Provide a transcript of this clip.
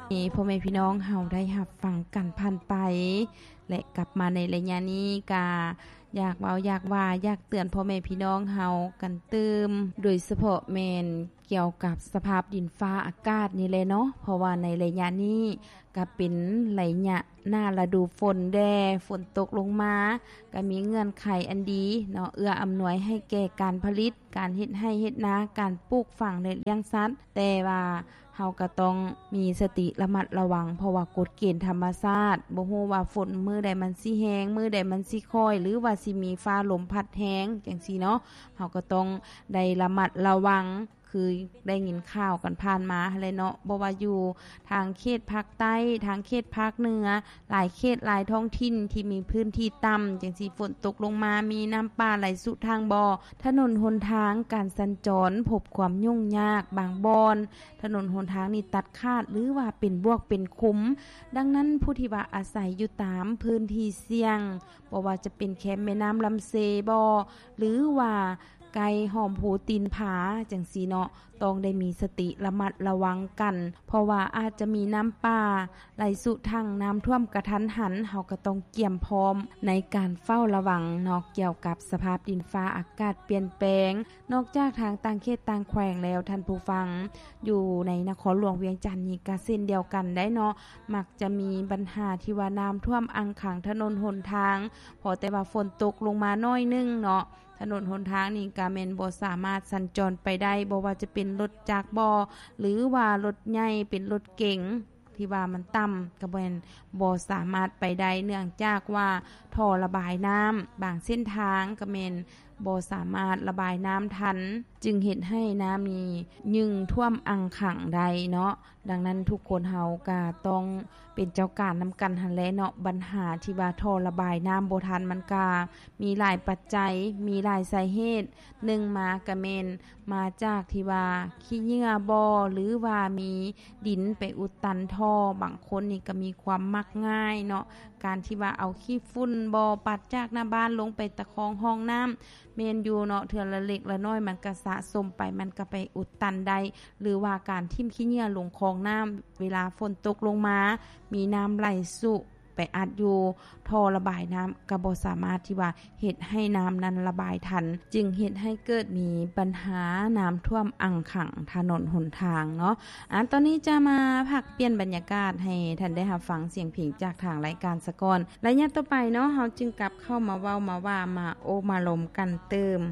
ທີ່ພໍ່ແມ່ພີ່ນ້ອງເຮົາໄດ້ຮັບຟັງກັນຜ່ານໄປ ແລະ ກັບມາໃນໄລຍະນີ້ກະຢາກເວົ້າ ຢາກວ່າ ຢາກເຕືອນພໍ່ແມ່ພີ່ນ້ອງເຮົາກັນຕື່ມ ໂດຍສະເພາະແມ່ນກ່ຽວກັບສະພາບດິນຟ້າອາກາດນີ້ແຫຼະເນາະ ເພາະວ່າໃນໄລຍະນີ້ກະເປັນໄລຍະໜ້າລະດູຝົນແດ່ ຝົນຕົກລົງມາ ກະມີເງື່ອນໄຂອັນດີເນາະ ເອື້ອອຳນວຍໃຫ້ແກ່ການຜະລິດ ການເຮັດໄຮ່ເຮັດນາ ການປູກຝັງ ແລະ ລ້ຽງສັດ ແຕ່ວ່າເຮົາກະຕ້ອງມີສະຕິລະມັດລະວັງ ເພາະວ່າກົດເກນທຳມະຊາດ ບໍ່ຮູ້ວ່າຝົນມື້ໃດມັນຊິແຮງ ມື້ໃດມັນຊິຄ່ອຍ ຫຼືວ່າຊິມີຟ້າລົມພັດແຮງຈັ່ງຊີ້ເນາະ ເຮົາກະຕ້ອງໄດ້ລະມັດລະວັງ ຄືໄດ້ຍິນຂ່າວກັນຜ່ານມາຫັ້ນແຫຼະເນາະ ບໍ່ວ່າຢູ່ທາງເຂດພາກໃຕ້ ທາງເຂດພາກເໜືອ ຫຼາຍເຂດຫຼາຍທ້ອງຖິ່ນທີ່ມີພື້ນທີ່ຕ່ຳ ຈັ່ງຊີ້ຝົນຕົກລົງມາ ມີນ້ຳປ່າໄຫຼຊຸທາງບໍ່ ຖະໜົນຫົນທາງ ການສັນຈອນພົບຄວາມຫຍຸ້ງຍາກບາງບ່ອນ ຖະໜົນຫົນທາງນີ້ຕັດຂາດ ຫຼືວ່າເປັນບວກເປັນຂຸມ. ດັ່ງນັ້ນ ຜູ້ທີ່ວ່າອາໄສຢູ່ຕາມພື້ນທີ່ສ່ຽງ ບໍ່ວ່າຈະເປັນແຄມແມ່ນ້ຳລຳເຊບໍ ຫຼືວ່າໃກ້ຮ່ອມພູຕີນຜາຈັ່ງຊີ້ເນາະ ຕ້ອງໄດ້ມີສະຕິລະມັດລະວັງກັນ ເພາະວ່າອາດຈະມີນ້ຳປ່າໄຫຼຊຸທາງ ນ້ຳຖ້ວມກະທັນຫັນ ເຮົາກະຕ້ອງກຽມພ້ອມໃນການເຝົ້າລະວັງເນາະ ກ່ຽວກັບສະພາບດິນຟ້າອາກາດປ່ຽນແປງ. ນອກຈາກທາງຕ່າງເຂດຕ່າງແຂວງແລ້ວ ທ່ານຜູ້ຟັງ ຢູ່ໃນນະຄອນຫຼວງວຽງຈັນນີ້ກະເຊັ່ນດຽວກັນໄດ໋ເນາະ ມັກຈະມີບັນຫາທີ່ວ່ານ້ຳຖ້ວມອັ່ງຂັງຖະໜົນຫົນທາງ ພໍແຕ່ວ່າຝົນຕົກລົງມາໜ້ອຍໜຶ່ງເນາະ ຖະໜົນຫົນທາງນີ້ກະແມ່ນບໍ່ສາມາດສັນຈອນໄປໄດ້ ບໍ່ວ່າຈະເປັນລົດຈັກບໍ ຫຼືວ່າລົດໃຫຍ່ ເປັນລົດເກັງ ທີ່ວ່າມັນຕ່ຳ ກະແມ່ນບໍ່ສາມາດໄປໄດ້ ເນື່ອງຈາກວ່າທໍ່ລະບາຍນ້ຳບາງເສັ້ນທາງກະແມ່ນບໍ່ສາມາດລະບາຍນ້ຳທັນ ຈຶ່ງເຮັດໃຫ້ນ້ຳນີ້ຍຶ່ງຖ້ວມອັ່ງຂັງໄດ້ເນາະ. ດັ່ງນັ້ນ ທຸກຄົນເຮົາກະຕ້ອງເປັນເຈົ້າການນຳກັນຫັ້ນແຫຼະເນາະ ບັນຫາທີ່ວ່າທໍ່ລະບາຍນ້ຳບໍ່ທັນ ມັນກະມີຫຼາຍປັດໄຈ ມີຫຼາຍສາເຫດ ໜຶ່ງມາກະແມ່ນມາຈາກທີ່ວ່າຂີ້ເຫຍື້ອບໍ ຫຼືວ່າມີດິນໄປອຸດຕັນທໍ່ ບາງຄົນນີ້ກະມີຄວາມມັກງ່າຍເນາະ ການທີ່ວ່າເອົາຂີ້ຝຸ່ນບໍ ປັດຈາກໜ້າບ້ານລົງໄປຕະຄອງຮ່ອງນ້ຳ ແມ່ນຢູ່ເນາະ ເທື່ອລະເລັກລະນ້ອຍມັນກະສະສົມໄປ ມັນກະໄປອຸດຕັນໄດ້ ຫຼືວ່າການຖິ້ມຂີ້ເຫຍື້ອລົງຄອງນ້ຳ ເວລາຝົນຕົກລົງມາ ມີນ້ຳໄຫຼຊຸໄປອັດຢູ່ທໍ່ລະບາຍນ້ຳ ກະບໍ່ສາມາດທີ່ວ່າເຮັດໃຫ້ນ້ຳນັ້ນລະບາຍທັນ ຈຶ່ງເຮັດໃຫ້ເກີດມີບັນຫານ້ຳຖ້ວມອັ່ງຂັງຖະໜົນຫົນທາງເນາະ. ອາ ຕອນນີ້ຈະມາພັກປ່ຽນບັນຍາກາດໃຫ້ທ່ານໄດ້ຮັບຟັງສຽງເພງຈາກທາງລາຍການສາກ່ອນ ໄລຍະຕໍ່ໄປເນາະ ເຮົາຈຶ່ງກັບເຂົ້າມາເວົ້າມາວ່າ ມາໂອ້ມາລົມກັນຕື່ມ.